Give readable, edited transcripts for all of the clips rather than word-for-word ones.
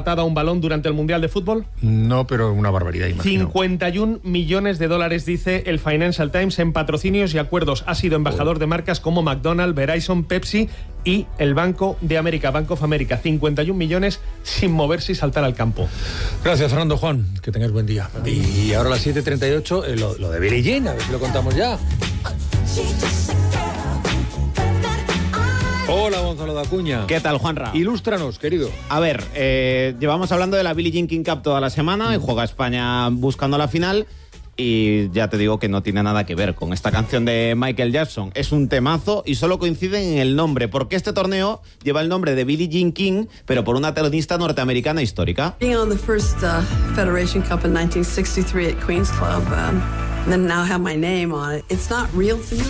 a un balón durante el Mundial de Fútbol? No, pero una barbaridad, imagino. 51 millones de dólares, dice el Financial Times, en patrocinios y acuerdos. Ha sido embajador de marcas como McDonald's, Verizon, Pepsi y el Banco de América, Bank of America. 51 millones sin moverse y saltar al campo. Gracias, Fernando. Juan, que tengas buen día. Y ahora a las 7:38, lo de Billie Jean, a ver si lo contamos ya. Hola, Gonzalo de Acuña. ¿Qué tal, Juanra? Ilústranos, querido. A ver, llevamos hablando de la Billie Jean King Cup toda la semana y juega España buscando la final. Y ya te digo que no tiene nada que ver con esta canción de Michael Jackson. Es un temazo y solo coinciden en el nombre, porque este torneo lleva el nombre de Billie Jean King, pero por una tenista norteamericana histórica. Being on the first Federation Cup in 1963 at Queen's Club, and then now have my name on it. It's not real to me.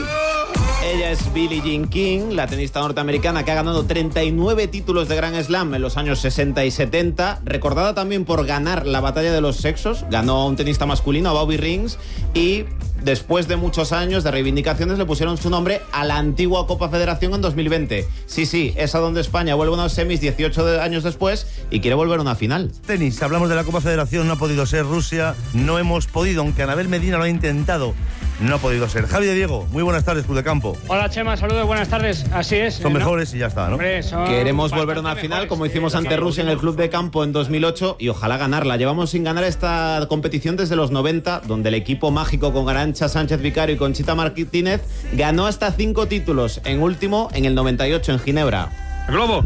Ella es Billie Jean King, la tenista norteamericana que ha ganado 39 títulos de Grand Slam en los años 60 y 70, recordada también por ganar la batalla de los sexos. Ganó a un tenista masculino, a Bobby Rings, y después de muchos años de reivindicaciones le pusieron su nombre a la antigua Copa Federación en 2020. Sí, es a donde España vuelve a unos semis 18 años después y quiere volver a una final. Tenis, hablamos de la Copa Federación, no ha podido ser Rusia, no hemos podido, aunque Anabel Medina lo ha intentado. No ha podido ser. Javi de Diego, muy buenas tardes, Club de Campo. Hola, Chema, saludos, buenas tardes. Así es. Son mejores y ya está, ¿no? Hombre, queremos volver a una final como hicimos ante Rusia en el Club de Campo en 2008 y ojalá ganarla. Llevamos sin ganar esta competición desde los 90, donde el equipo mágico con Arantxa Sánchez Vicario y Conchita Martínez ganó hasta 5 títulos, en último en el 98 en Ginebra. El globo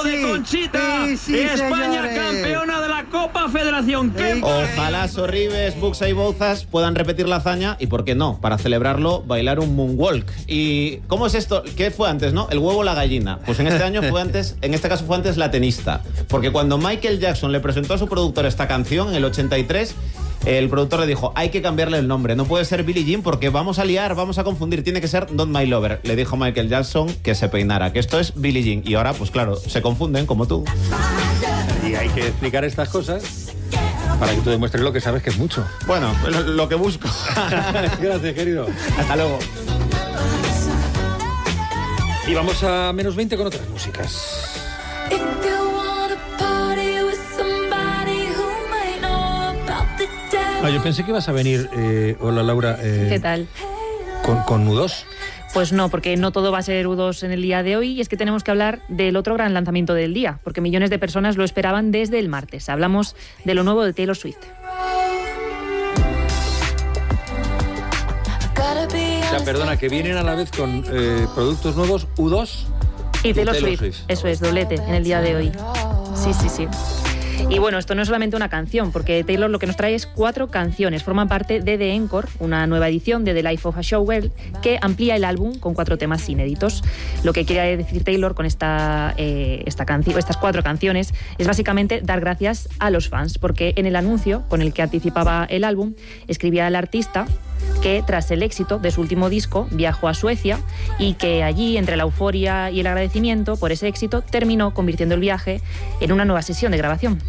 de Conchita. España campeona de la Copa Federación. Ojalá Sorribes, Buxa y Bouzas puedan repetir la hazaña y, ¿por qué no? Para celebrarlo, bailar un moonwalk. ¿Y cómo es esto? ¿Qué fue antes, no? ¿El huevo o la gallina? Pues en este caso fue antes la tenista. Porque cuando Michael Jackson le presentó a su productor esta canción en el 83, el productor le dijo, hay que cambiarle el nombre, no puede ser Billie Jean porque vamos a liar, vamos a confundir, tiene que ser Not My Lover. Le dijo Michael Jackson que se peinara, que esto es Billie Jean. Y ahora, pues claro, se confunden como tú. Y hay que explicar estas cosas para que tú demuestres lo que sabes, que es mucho. Bueno, lo que busco. Gracias, querido. Hasta luego. Y vamos a menos 20 con otras músicas. Yo pensé que ibas a venir, hola Laura, ¿qué tal? Con U2. Pues no, porque no todo va a ser U2 en el día de hoy, y es que tenemos que hablar del otro gran lanzamiento del día, porque millones de personas lo esperaban desde el martes. Hablamos de lo nuevo de Taylor Swift. O sea, perdona, que vienen a la vez con productos nuevos U2 y Taylor Swift. Eso es, doblete en el día de hoy. Sí. Y bueno, esto no es solamente una canción, porque Taylor lo que nos trae es 4 canciones. Forman parte de The Encore, una nueva edición de The Life of a Showgirl, que amplía el álbum con 4 temas inéditos. Lo que quiere decir Taylor con estas 4 canciones es básicamente dar gracias a los fans, porque en el anuncio con el que anticipaba el álbum, escribía el artista que tras el éxito de su último disco viajó a Suecia y que allí, entre la euforia y el agradecimiento por ese éxito, terminó convirtiendo el viaje en una nueva sesión de grabación.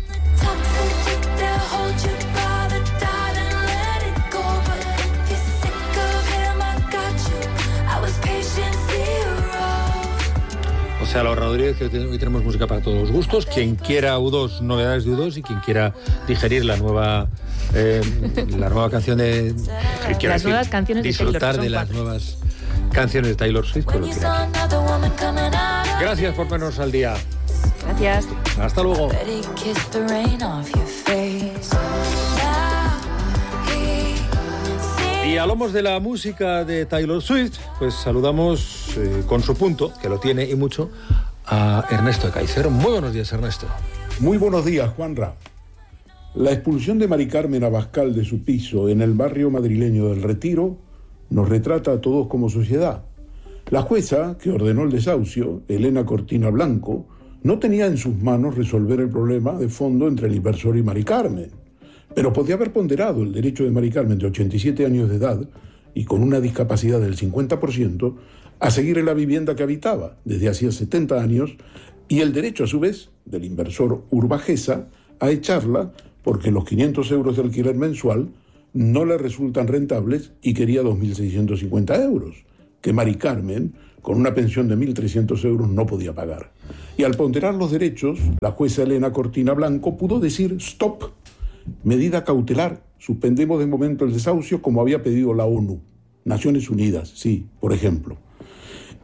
O sea, la ahorraduría es que hoy tenemos música para todos los gustos. Quien quiera U2, novedades de U2, y quien quiera digerir la nueva canción de... Las nuevas canciones de Taylor. Disfrutar de las nuevas canciones de Taylor Swift, pues lo tiene aquí. Gracias por vernos al día. Gracias. Hasta luego. Y hablamos de la música de Taylor Swift, pues saludamos con su punto, que lo tiene y mucho, a Ernesto de Caicedo. Muy buenos días, Ernesto. Muy buenos días, Juanra. La expulsión de Mari Carmen Abascal de su piso en el barrio madrileño del Retiro nos retrata a todos como sociedad. La jueza que ordenó el desahucio, Elena Cortina Blanco, no tenía en sus manos resolver el problema de fondo entre el inversor y Mari Carmen, pero podía haber ponderado el derecho de Mari Carmen, de 87 años de edad y con una discapacidad del 50%, a seguir en la vivienda que habitaba desde hacía 70 años, y el derecho a su vez del inversor Urbajesa a echarla porque los 500 euros de alquiler mensual no le resultan rentables y quería 2.650 euros, que Mari Carmen con una pensión de 1.300 euros no podía pagar. Y al ponderar los derechos, la jueza Elena Cortina Blanco pudo decir stop, medida cautelar, suspendemos de momento el desahucio como había pedido la ONU, Naciones Unidas, sí, por ejemplo.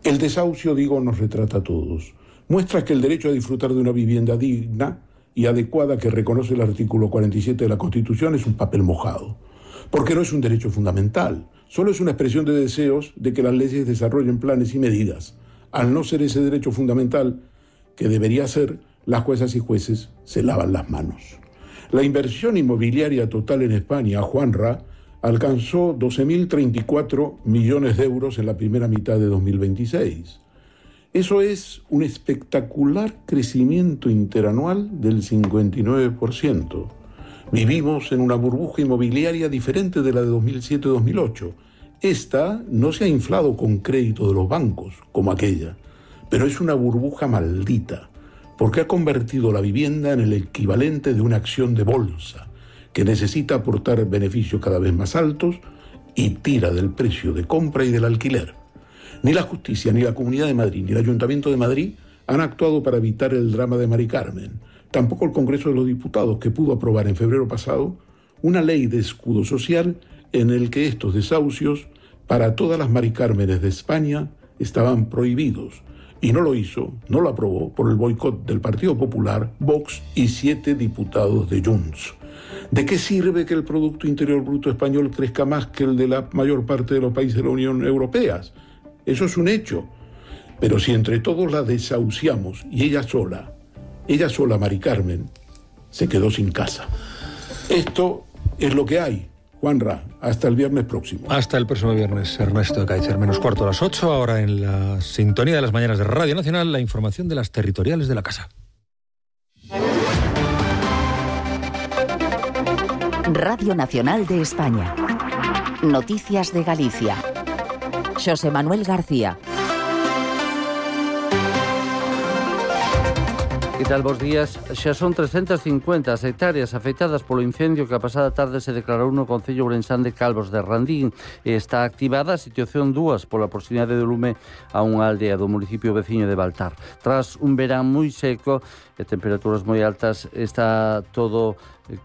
El desahucio, digo, nos retrata a todos. Muestra que el derecho a disfrutar de una vivienda digna y adecuada que reconoce el artículo 47 de la Constitución es un papel mojado, porque no es un derecho fundamental, solo es una expresión de deseos de que las leyes desarrollen planes y medidas. Al no ser ese derecho fundamental, que debería ser, las juezas y jueces se lavan las manos. La inversión inmobiliaria total en España, Juanra, alcanzó 12.034 millones de euros en la primera mitad de 2026. Eso es un espectacular crecimiento interanual del 59%. Vivimos en una burbuja inmobiliaria diferente de la de 2007-2008. Esta no se ha inflado con crédito de los bancos, como aquella, pero es una burbuja maldita, porque ha convertido la vivienda en el equivalente de una acción de bolsa, que necesita aportar beneficios cada vez más altos y tira del precio de compra y del alquiler. Ni la justicia, ni la Comunidad de Madrid, ni el Ayuntamiento de Madrid han actuado para evitar el drama de Mari Carmen. Tampoco el Congreso de los Diputados, que pudo aprobar en febrero pasado una ley de escudo social en el que estos desahucios para todas las Mari Cármenes de España estaban prohibidos. Y no lo hizo, no lo aprobó por el boicot del Partido Popular, Vox y 7 diputados de Junts. ¿De qué sirve que el Producto Interior Bruto español crezca más que el de la mayor parte de los países de la Unión Europea? Eso es un hecho. Pero si entre todos la desahuciamos y ella sola, Mari Carmen, se quedó sin casa. Esto es lo que hay. Juanra, hasta el viernes próximo. Hasta el próximo viernes, Ernesto de Kaiser, menos cuarto a las 8. Ahora en la sintonía de las mañanas de Radio Nacional, la información de las territoriales de la casa. Radio Nacional de España. Noticias de Galicia. Xosé Manuel García. Que tal, bos días? Xa son 350 as hectáreas afectadas polo incendio que a pasada tarde se declarou no concello ourensán de Calvos de Randín. Está activada a situación 2 pola proximidade do lume a unha aldea do municipio veciño de Baltar. Tras un verán moi seco e temperaturas moi altas, está todo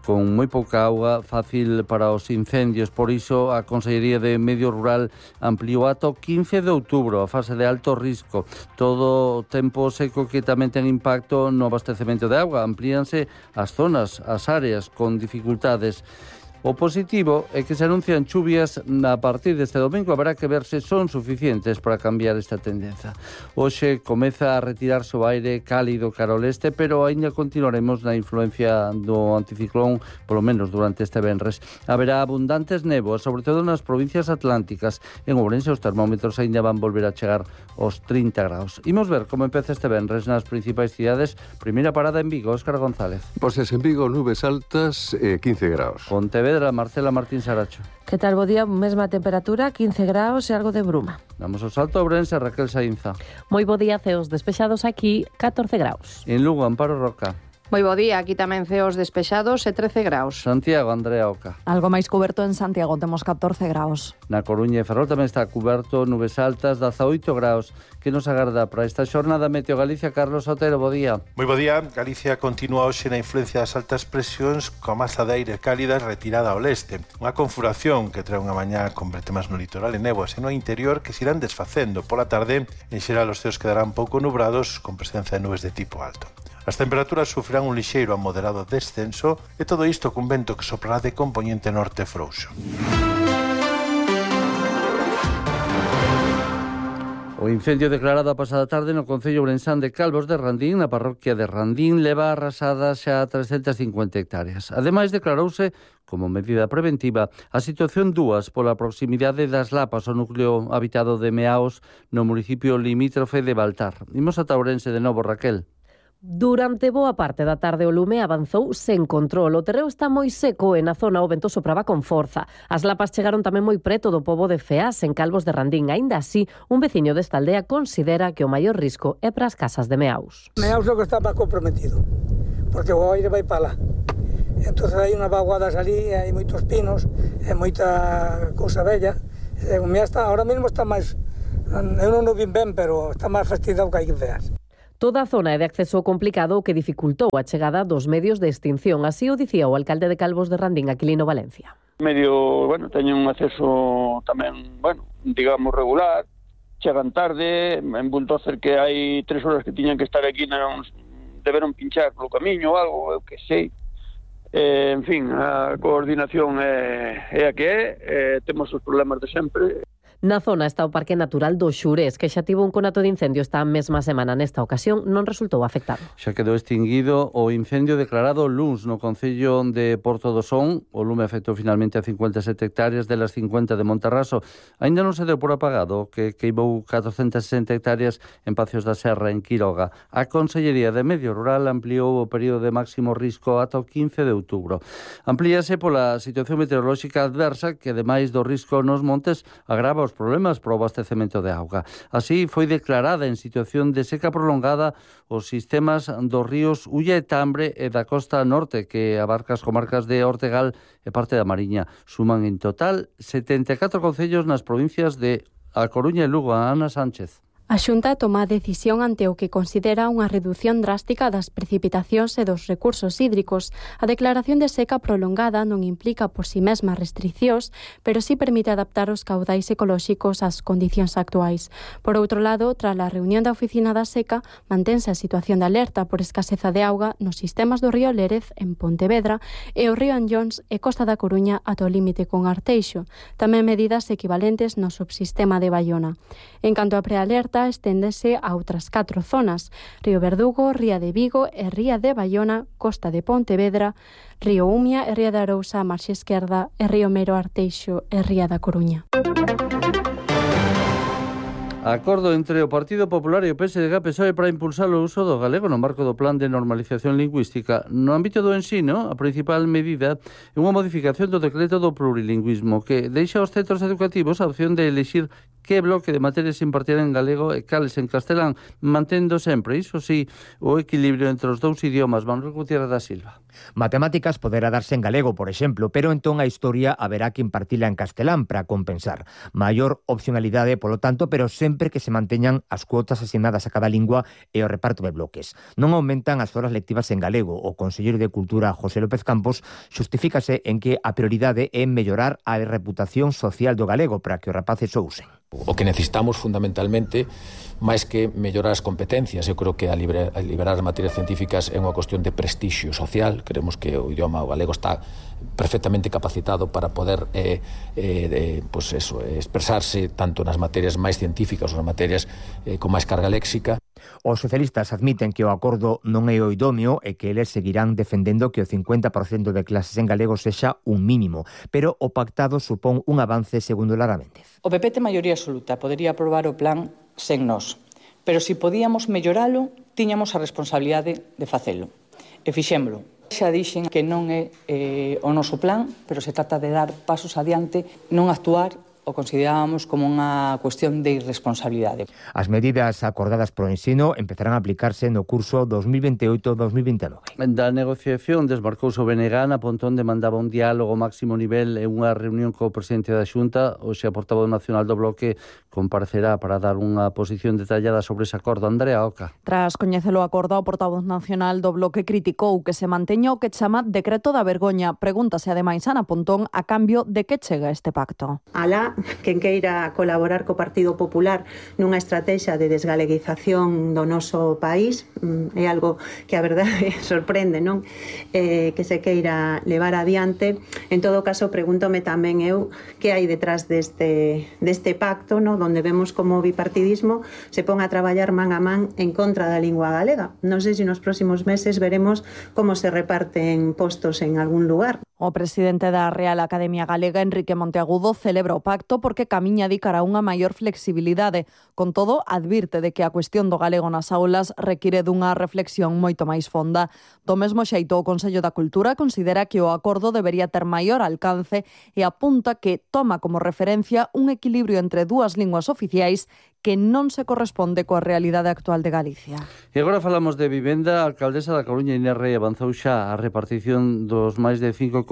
con moi pouca auga, fácil para os incendios. Por iso, a Consellería de Medio Rural ampliou ata o 15 de outubro a fase de alto risco. Todo tempo seco que tamén ten impacto no abastecemento de auga. Amplíanse as zonas, as áreas con dificultades. O positivo é que se anuncian chuvias a partir deste domingo. Haberá que ver se son suficientes para cambiar esta tendencia. Hoxe comeza a retirarse o aire cálido cara ao leste, pero aínda continuaremos na influencia do anticiclón, polo menos durante este venres. Haberá abundantes néboas, sobre todo nas provincias atlánticas. En Ourense os termómetros aínda van volver a chegar aos 30 graus. Imos ver como empeza este venres nas principais cidades. Primeira parada en Vigo, Óscar González. Pois en Vigo, nubes altas, 15 graus. Pontevedra, Marcela Martín Saracho. Que tal, bo día? Mesma temperatura, 15 graus e algo de bruma. Damos o salto a Ourense, Raquel Saínza. Moi bo día, ceos despexados aquí, 14 graus. En Lugo, Amparo Roca. Moi bo día, aquí tamén ceos despexados e 13 graus. Santiago, Andrea Oca. Algo máis cuberto en Santiago, temos 14 graus. Na Coruña e Ferrol tamén está cuberto, nubes altas, 18 graus. Que nos agarda para esta xornada Meteo Galicia? Carlos Otero, bo día. Moi bo día. Galicia continúa hoxe na influencia das altas presións coa masa de aire cálida retirada ao leste. Unha confuración que trae unha mañá con vertemas no litoral e néboas e no interior que se irán desfacendo. Pola tarde, en xeral, os ceos quedarán pouco nubrados con presencia de nubes de tipo alto. As temperaturas sufrirán un lixeiro a moderado descenso e todo isto cun vento que soprará de componente norte frouxo. O incendio declarado a pasada tarde no concello ourensán de Calvos de Randín, na parroquia de Randín, leva arrasadas xa 350 hectáreas. Ademais, declarouse como medida preventiva a situación 2 pola proximidade das Lapas ao núcleo habitado de Meaos no municipio limítrofe de Baltar. Imos ata Ourense de novo, Raquel. Durante boa parte da tarde o lume avanzou sen control. O terreo está moi seco e na zona o vento sopraba con forza. As lapas chegaron tamén moi preto do pobo de Feas, en Calvos de Randín. Aínda así, un veciño desta aldea considera que o maior risco é para as casas de Meaus. Meaus é o que está máis comprometido, porque o aire vai para lá. Entón hai unhas vaguadas ali, hai moitos pinos, e moita cousa bella. O Meaus está, ahora mesmo está máis Eu non o vin ben, pero está máis fastidiado que hai que veas. Toda a zona é de acceso complicado o que dificultou a chegada dos medios de extinción. Así o dicía o alcalde de Calvos de Randín, Aquilino Valencia. Medio, teñen un acceso tamén, digamos, regular. Chegan tarde, en bulldozer que hai 3 horas que tiñan que estar aquí, deberon pinchar polo camiño ou algo, eu que sei. En fin, a coordinación é a que é, temos os problemas de sempre. Na zona está o Parque Natural do Xurés, que xa tivo un conato de incendio esta mesma semana. Nesta ocasión non resultou afectado. Xa quedou extinguido o incendio declarado luns no concello de Porto do Son. O lume afectou finalmente a 57 hectáreas delas 50 de Monterraso. Aínda non se deu por apagado, que queimou 460 hectáreas en Pacios da Serra, en Quiroga. A Consellería de Medio Rural ampliou o período de máximo risco ata o 15 de outubro. Amplíase pola situación meteorolóxica adversa que, ademais do risco nos montes, agrava os problemas para o abastecemento de auga. Así, foi declarada en situación de seca prolongada os sistemas dos ríos Ulla e Tambre e da costa norte, que abarca as comarcas de Ortegal e parte da Mariña. Suman en total 74 concellos nas provincias de A Coruña e Lugo. Ana Sánchez. A Xunta toma a decisión ante o que considera unha reducción drástica das precipitacións e dos recursos hídricos. A declaración de seca prolongada non implica por si mesma restriccións, pero sí permite adaptar os caudais ecolóxicos ás condicións actuais. Por outro lado, tras a reunión da Oficina da Seca, mantense a situación de alerta por escaseza de auga nos sistemas do río Lérez, en Pontevedra, e o río Anllóns e Costa da Coruña ata o límite con Arteixo. Tamén medidas equivalentes no subsistema de Baiona. En canto a prealerta, esténdese a outras 4 zonas: Río Verdugo, Ría de Vigo e Ría de Baiona, Costa de Pontevedra, Río Umia e Ría de Arousa, Marxe Esquerda e Río Mero, Arteixo e Ría da Coruña. Acordo entre o Partido Popular e o PSDG-PSOE para impulsar o uso do galego no marco do Plan de Normalización Lingüística. No ámbito do ensino, a principal medida é unha modificación do decreto do plurilingüismo que deixa aos centros educativos a opción de elixir que bloque de materias se impartirán en galego e cales en castelán, mantendo sempre, iso sí, o equilibrio entre os dous idiomas. Manuel Gutiérrez da Silva. Matemáticas poderá darse en galego, por exemplo, pero entón a historia haberá que impartila en castelán para compensar. Maior opcionalidade, polo tanto, pero sempre que se manteñan as cuotas asignadas a cada lingua e o reparto de bloques. Non aumentan as horas lectivas en galego. O conselleiro de Cultura, José López Campos, xustifícase en que a prioridade é mellorar a reputación social do galego para que os rapaces o usen. O que necesitamos fundamentalmente, máis que mellorar as competencias, eu creo que a liberar as materias científicas é unha cuestión de prestixio social. Queremos que o idioma galego está perfectamente capacitado para poder expresarse tanto nas materias máis científicas ou nas materias con máis carga léxica. Os socialistas admiten que o acordo non é o idóneo e que eles seguirán defendendo que o 50% de clases en galego sexa un mínimo, pero o pactado supón un avance, segundo Lara Méndez. O PP ten maioría absoluta, podería aprobar o plan sen nós, pero se podíamos melloralo, tiñamos a responsabilidade de facelo. E fixémolo. Xa dixen que non é o noso plan, pero se trata de dar pasos adiante, non actuar o considerábamos como unha cuestión de irresponsabilidade. As medidas acordadas pro ensino empezarán a aplicarse no curso 2028-2029. Da negociación desmarcouse o BNG na Pontón, demandaba un diálogo máximo nivel e unha reunión co presidente da Xunta. Hoxe a portavoz nacional do Bloque comparecerá para dar unha posición detallada sobre ese acordo. Andrea Oca. Tras coñecelo o acordo, o portavoz nacional do Bloque criticou que se manteña o que chama decreto da vergoña. Pregúntase ademais Ana Pontón a cambio de que chega este pacto. Alá quen queira colaborar co Partido Popular nunha estrategia de desgaleguización do noso país, é algo que a verdade sorprende, non? Que se queira levar adiante. En todo caso, pregúntome tamén eu que hai detrás deste pacto, non? Donde vemos como o bipartidismo se pon a traballar man a man en contra da lingua galega. Non sei se nos próximos meses veremos como se reparten postos en algún lugar. O presidente da Real Academia Galega, Enrique Monteagudo, celebra o pacto porque camiña de cara a unha maior flexibilidade. Con todo, advirte de que a cuestión do galego nas aulas require dunha reflexión moito máis fonda. Do mesmo xeito, o Consello da Cultura considera que o acordo debería ter maior alcance e apunta que toma como referencia un equilibrio entre dúas linguas oficiais que non se corresponde coa realidade actual de Galicia. E agora falamos de vivenda. A alcaldesa da Coruña, Inés Rei, avanzou xa a repartición dos máis de 5,1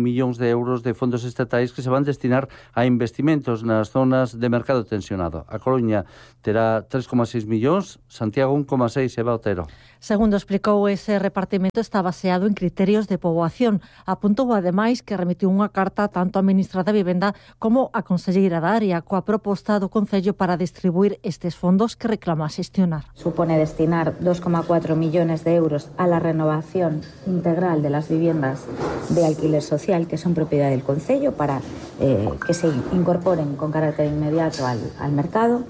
millóns de euros de fondos estatais que se van destinar a investimentos nas zonas de mercado tensionado. A Coruña terá 3,6 millóns, Santiago 1,6, Eva Otero. Segundo explicou, ese repartimento está baseado en criterios de poboación. Apuntou ademais que remitiu unha carta tanto á ministra da Vivenda como á conselleira da área coa proposta do Concello para distribuir estes fondos que reclama xestionar. Supone destinar 2,4 millones de euros a la renovación integral de las viviendas de alquiler social que son propiedad del Concello para que se incorporen con carácter inmediato al mercado.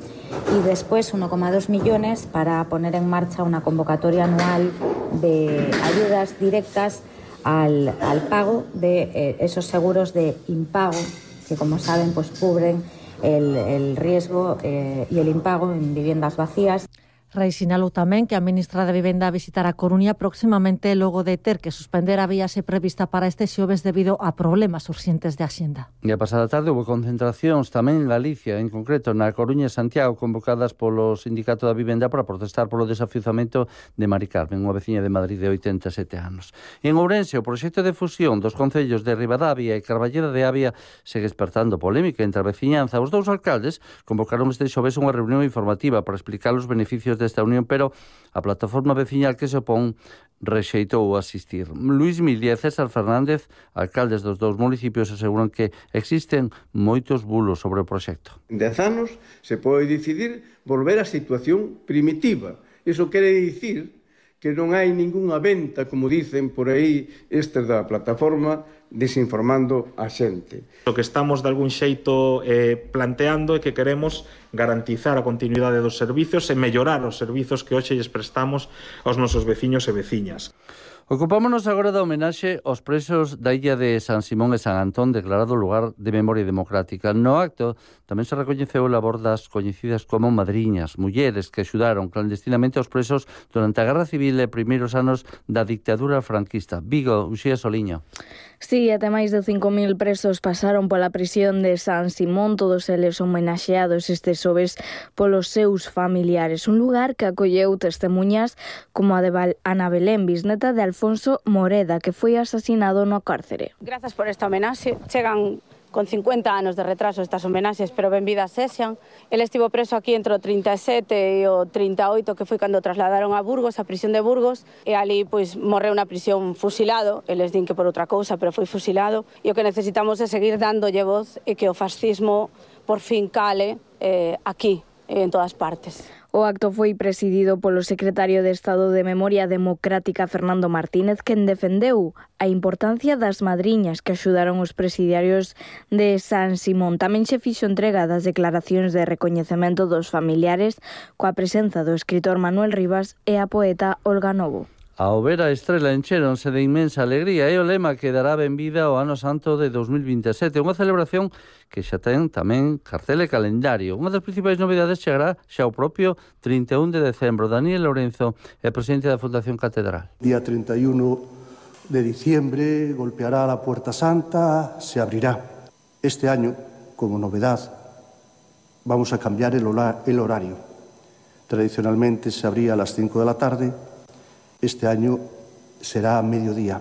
Y después 1,2 millones para poner en marcha una convocatoria anual de ayudas directas al pago de esos seguros de impago que, como saben, pues cubren el riesgo y el impago en viviendas vacías. Rei sinalou tamén que a ministra da Vivenda visitará a Coruña próximamente logo de ter que suspender a viaxe prevista para este xoves debido a problemas urxentes de axenda. E a pasada tarde houve concentracións tamén en Galicia, en concreto na Coruña e Santiago, convocadas polo Sindicato da Vivenda para protestar polo desafiuzamento de Mari Carmen, unha veciña de Madrid de 87 anos. E en Ourense, o proxecto de fusión dos concellos de Ribadavia e Carballeda de Avia segue despertando polémica entre a veciñanza. Os dous alcaldes convocaron este xoves unha reunión informativa para explicar os beneficios desta unión, pero a plataforma veciñal que se opón rexeitou asistir. Luís Mil e César Fernández, alcaldes dos dous municipios, aseguran que existen moitos bulos sobre o proxecto. En 10 anos se pode decidir volver á situación primitiva. Iso quere dicir que non hai ningunha venta, como dicen por aí estes da plataforma, desinformando a xente. O que estamos de algún xeito planteando é que queremos garantizar a continuidade dos servizos e mellorar os servizos que hoxe lles prestamos aos nosos veciños e veciñas. Ocupámonos agora da homenaxe aos presos da illa de San Simón e San Antón, declarado lugar de memoria democrática. No acto tamén se recoñeceu o labor das coñecidas como madriñas, mulleres que axudaron clandestinamente aos presos durante a Guerra Civil e primeiros anos da dictadura franquista. Vigo, Uxía Soliño. Sí, até máis de 5.000 presos pasaron pola prisión de San Simón, todos eles homenaxeados este xoves polos seus familiares. Un lugar que acolleu testemunhas como a de Ana Belén, bisneta de Alfonso Moreda, que foi asasinado no cárcere. Grazas por esta homenaxe. Chegan con 50 anos de retraso estas homenaxes, pero benvidas sexan. El estivo preso aquí entre o 37 e o 38, que foi cando trasladaron a Burgos, a prisión de Burgos, e ali pois morreu na prisión fusilado. Eles din que por outra cousa, pero foi fusilado. E o que necesitamos é seguir dándolle voz e que o fascismo por fin cale aquí, en todas partes. O acto foi presidido polo secretario de Estado de Memoria Democrática Fernando Martínez, quen defendeu a importancia das madriñas que axudaron os presidiarios de San Simón. Tamén se fixo entrega das declaracións de recoñecemento dos familiares coa presenza do escritor Manuel Rivas e a poeta Olga Novo. Ao ver a estrela encheronse de inmensa alegría e o lema que dará benvida ao Ano Santo de 2027, unha celebración que xa ten tamén cartel e calendario. Unha das principais novidades chegará xa o propio 31 de decembro. Daniel Lorenzo é presidente da Fundación Catedral. Día 31 de diciembre golpeará la Puerta Santa, se abrirá. Este año, como novedad, vamos a cambiar el horario. Tradicionalmente se abría a las 5 de la tarde. Este año será a mediodía.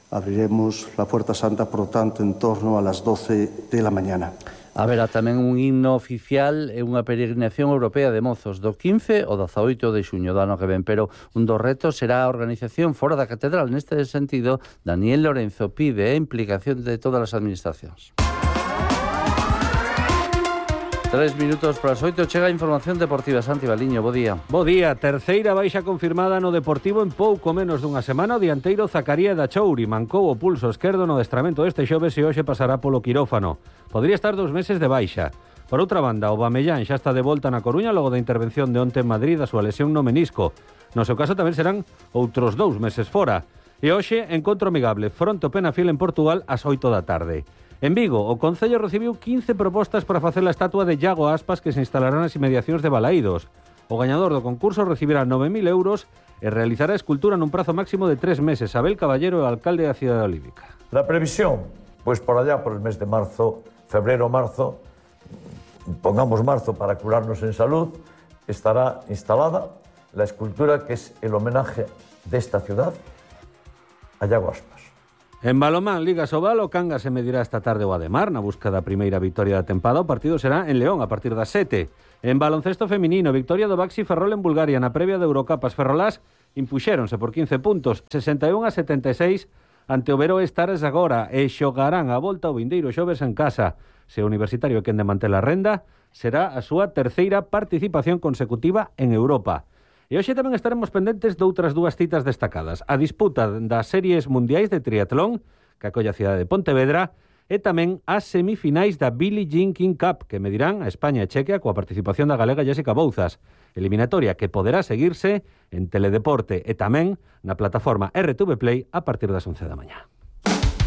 Abriremos la Puerta Santa, por lo tanto, en torno a las 12 de la mañana. Haberá tamén un himno oficial e unha peregrinación europea de mozos do 15 ao 18 de xuño do ano que ven, pero un dos retos será a organización fora da catedral. Neste sentido, Daniel Lorenzo pide a implicación de todas as administracións. 3 minutos para as 8, chega a información deportiva. Santi Baliño, bo día. Bo día, terceira baixa confirmada no Deportivo en pouco menos dunha semana. O dianteiro Zacaría da Chouri mancou o pulso esquerdo no adestramento deste xoves e hoxe pasará polo quirófano. Podría estar 2 meses de baixa. Por outra banda, o Bamellán xa está de volta na Coruña logo da intervención de onte en Madrid da súa lesión no menisco. No seu caso tamén serán outros 2 meses fora. E hoxe, encontro amigable fronte ao Penafiel en Portugal ás 8 da tarde. En Vigo, o Concello recibiu 15 propostas para facer a estatua de Iago Aspas que se instalará nas inmediacións de Balaídos. O gañador do concurso recibirá 9.000 euros e realizará a escultura nun prazo máximo de 3 meses. Abel Caballero, o alcalde da cidade olívica. La previsión, pues por allá por el mes de marzo, febrero-marzo, pongamos marzo para curarnos en salud, estará instalada la escultura que es el homenaje de esta ciudad a Iago Aspas. En balonmán, Liga Sobal, o Cangas se medirá esta tarde o Ademar na busca da primeira victoria da tempada. O partido será en León a partir das 7. En baloncesto feminino, victoria do Baxi Ferrol en Bulgaria na previa de Eurocapas. Ferrolás impuxéronse por 15 puntos, 61-76 ante o Veró Stars agora e xogarán a volta o vindeiro xoves en casa. Se o Universitario é quen de manter a renda, será a súa terceira participación consecutiva en Europa. E hoxe tamén estaremos pendentes de outras dúas citas destacadas. A disputa das series mundiais de triatlón, que acolle a cidade de Pontevedra, e tamén as semifinais da Billie Jean King Cup, que medirán a España e Chequia coa participación da galega Jessica Bouzas. Eliminatoria que poderá seguirse en Teledeporte e tamén na plataforma RTV Play a partir das 11 da mañá.